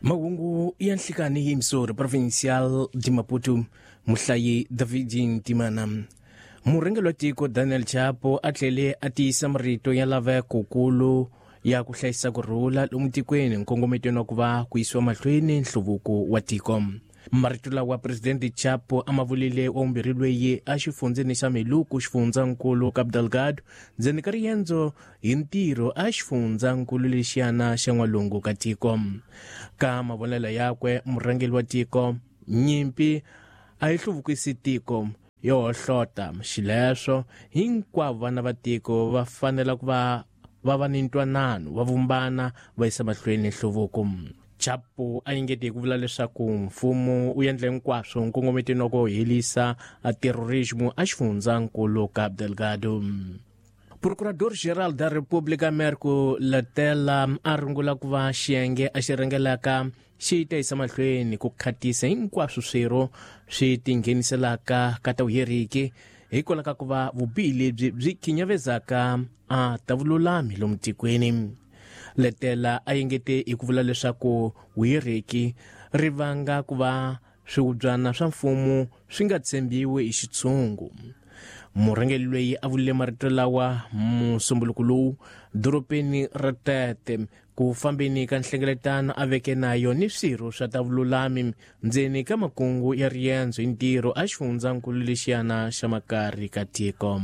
Mahungu ya nhlikani hi Missouri Provincial de Maputo, muhlayi David Ntimana. Murhangeri wa tiko Daniel Chapo a tlhele a tiyisa marito ya lavekokulu ya ku hlayisa ku rhula lomu tikweni nkongometweni wa ku va ku yisiwa mahlweni nhluvuko wa tiko. Marito lawa Presidente Chapo a ma vulile wa vumbirhi loyi a xifundzeni xa Meluku xifundzankulu Cabo Delgado ndzeni ka riendzo hi ntirho a xifundzankulu lexiyana xa n'walungu ka tiko. Ka mavonelo yakwe murhangeri wa tiko, nyimpi a yi hluvukisi tiko yo hohlota, xileswo hinkwavo vana va tiko va fanela ku va va va ni ntwanano, va vumbana va yisa mahlweni nhluvuko. Chapo a engete hi ku vula leswaku mfumo wu endla hinkwaswo nkongometweni wa ku herisa terrorismo a xifundzankulu Cabo Delgado. Procurador Geral da República Merco Letela a rungula ku va xiyenge a xi rhangelaka xi ta yisa mahlweni ku khatisa hinkwaswo swirho swi tingheniselaka ka ta vuheriki hikwalaho ka ku va vubihi lebyi byi khinyavezaka a ta vululami lomu tikweni. Letela a engete hi ku vula leswaku vuheriki ri vanga ku va swihubyana swa mfumo swi nga tshembiwi hi xitshungu. Murhangeri loyi a vulile marito lawa musumbuluko lowu dorobeni ra Tete ku fambeni ka nhlengeletano a veke na yo ni swirho swa ta vululami ndzeni ka makungu ya riendzo hi ntirho a xifundzankulu lexiyana xa makari ka tiko.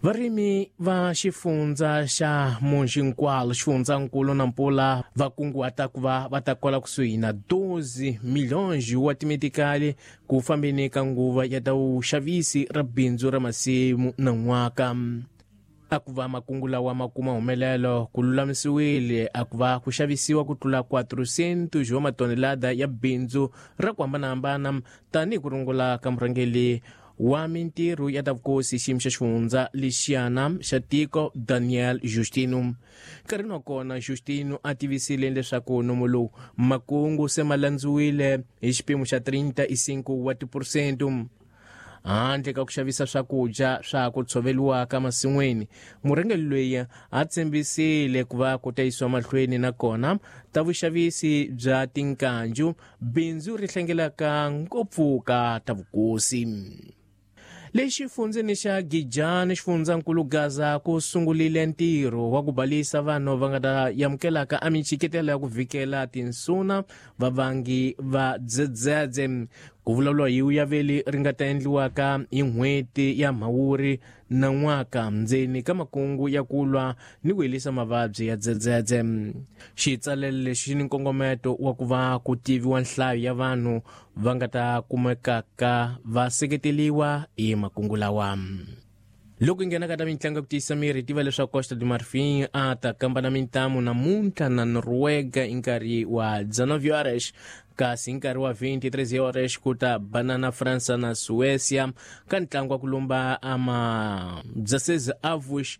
Varimi va xifundza xa Monjinkwalo xifundzankulu na Mpula va kunguhata ku va va ta kola kusuhi na 12 milhões wa timetikali ku fambeni ka nguva ya ta vuxavisi ra bindzu ra masimu na n'waka. A ku va makungu lawa ma kuma humelelo ku lulamisiwile a ku va ku xavisiwa ku tlula 400 wa matonelada ya bindzu ra ku hambanahambana tanihi ku rungula ka murhangeri wa mintirho ya ta vukosi xiyimo xa xifundza lexiyana xa tiko Daniel Justino. Nkarhini wa kona Justino a tivisile leswaku nomo lowu makungu se ma landziwile hi xipimo xa 35 wa tiphurosente. Handle ka ku xavisa swakudya swa ku tshoveriwaka masin'wini, murhangeri loyi a tshembisile ku va ku ta yisiwa mahlweni na kona ta vuxavisi bya tinkanju, bindzu ri hlengelaka ngopfu ka ta vukosi. Le xifundzeni xa Gijani xifundzankulu Gaza ku sungulile ntirho wa ku balisa vanhu va nga ta amukelaka a michiketelo ya ku vhikela tinsuna vavangi va dzedzedze. Ku vulavuriwa hi uyaveli ri nga ta endliwaka hi n'hweti ya Mhawuri na n'waka ndzeni ka makungu ya ku lwa ni ku herisa mavabyi ya dzedzedze. Xitsalelo lexi xi ni nkongometo wa ku va ku tiviwa nhlayo ya vanhu va nga ta kumekaka va seketeliwa hi makungu lawa. Loko hi nghena ka ta mitlangu ya ku tiyisa miri, tiva leswaku Costa do Marfim a ta kamba na mintamu namuntlha na Noruega hi nkarhi wa 19 horas, kasi hi nkarhi wa 23 horas ku ta banana Fransa na Suécia ka ntlangu wa ku lumba ama 16 avos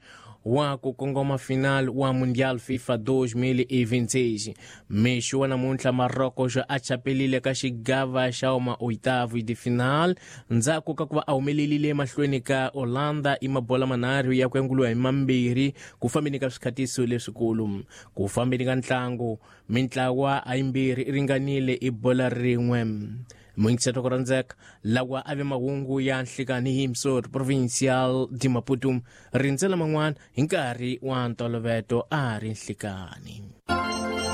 wa ku kongoma final wa Mundial FIFA 2026. Mixo wa namuntlha Marocco xo a chapelile ka xigava xa uma oitavo de final ndzhaku ka ku va a humelelile emahlweni ka Holanda i mabola manharhu ya ku yanguliwa hi mambirhi ku fambeni ka swikhatiso leswikulu. Ku fambeni ka ntlangu mintlawa a yimbirhi i ringanile i bola rin'we. Muyingiseri ku rhandzeka lawa a ve mahungu ya nhlikani hi Missouri Provincial de Maputo rindzela man'wana hi nkarhi wa ntoloveto a ri nhlikani.